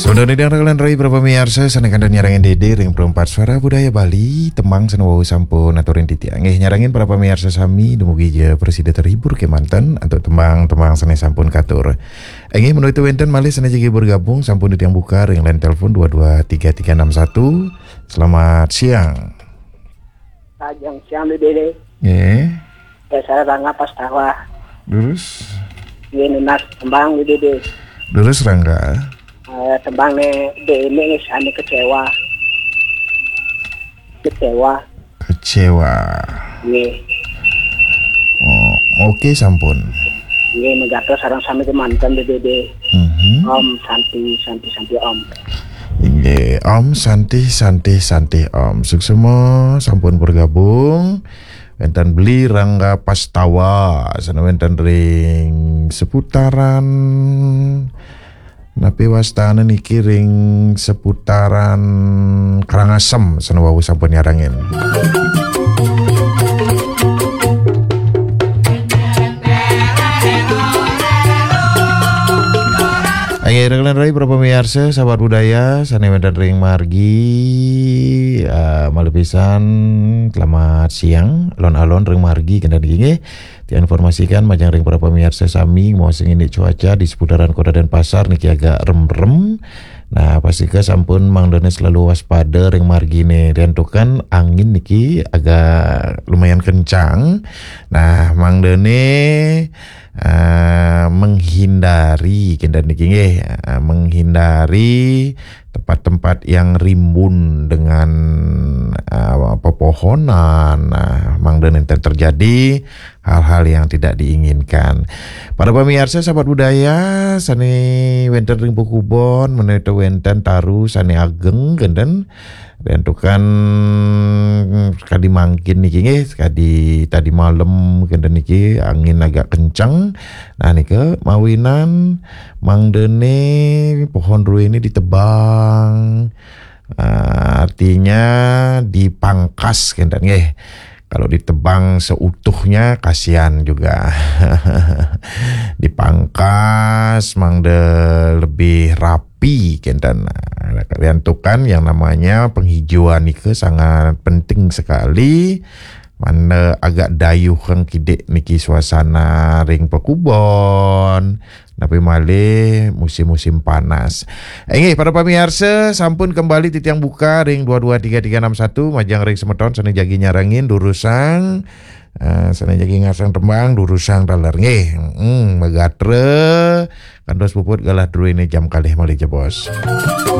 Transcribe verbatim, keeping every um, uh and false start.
Tunda nidang raglan rai para pamiarsa, sané kantun nyarengin Dédé ring Perempat Suara Budaya Bali, tembang sané wau sampun aturin titiang. Nggih, nyarengin para pamiarsa sami, dumugi ja prasida terhibur kémanten antuk tembang-tembang sané sampun katur. Inggih, menawi wénten malih sané jagi bergabung, sampun titiang buka ring line telepon dua dua tiga tiga enam satu. Selamat siang. Ajeng siang, Dédé. Nggih. Ya, saya Rangga Pastawa. Durus. Nggih, nunas tembang, Dédé. Durus, Rangga. Eh, tembang né, Dédé, nggih, sané kecewa. Kecewa. Kecewa. Nggih. Oh, oke, sampun. Nggih, megatos sareng sami kémanten, Dédé. Mhm. Om Santi, Santi, Santi, Om. Inggih, Om Santi, Santi, Santi, Om. Suksma sampun bergabung. Wénten Beli Rangga Pastawa, sané wénten ring seputaran, napi wastana niki, ring seputaran Karangasem, sané wau sampun nyarengin. Inggih, raglan rai para pamiarsa, sahabat budaya, sané wénten ring margi, eh, malih pisan, selamat siang, alon-alon ring margi, kénten niki nggih. Diinformasikan majeng ring para pamiarsa sami, mau sing indik cuaca di seputaran Kota Denpasar niki agak remrem. Nah, pastika sampun mangdané selalu waspada ring marginé. Diantukan angin niki agak lumayan kencang. Nah, mangdané, eh, menghindari, kénten niki nggih, eh, menghindari tempat-tempat yang rimbun dengan, eh, pepohonan. Nah, mangdané terjadi hal-hal yang tidak diinginkan. Para pamiarsa, sahabat budaya, sané wénten ring pakubon, menawi wénten taru sané ageng, kénten. Diantukan kadi mangkin niki nggih, kadi tadi malem kénten niki angin agak kenceng. Nah, nika mawinan mangdané pohon ruwé ini ditebang. Ah, artinya dipangkas, kénten nggih. Kalau ditebang seutuhnya, kasihan juga. Dipangkas, mangda lebih rapi, kénten. Nah, diantukan yang namanya penghijauan nika sangat penting sekali. Mangda agak dayuh kang kidik niki suasana ring pakubon. Napi malih musim-musim panas. Inggih, para pamiarsa, sampun kembali titiang buka ring dua dua tiga tiga enam satu, majeng ring semeton sané jagi nyarengin, durusang, eh, sané jagi ngarasang tembang, durusang taler. Nggih, mm, magatra, kantos puput galah druéné jam kalih malih jebos.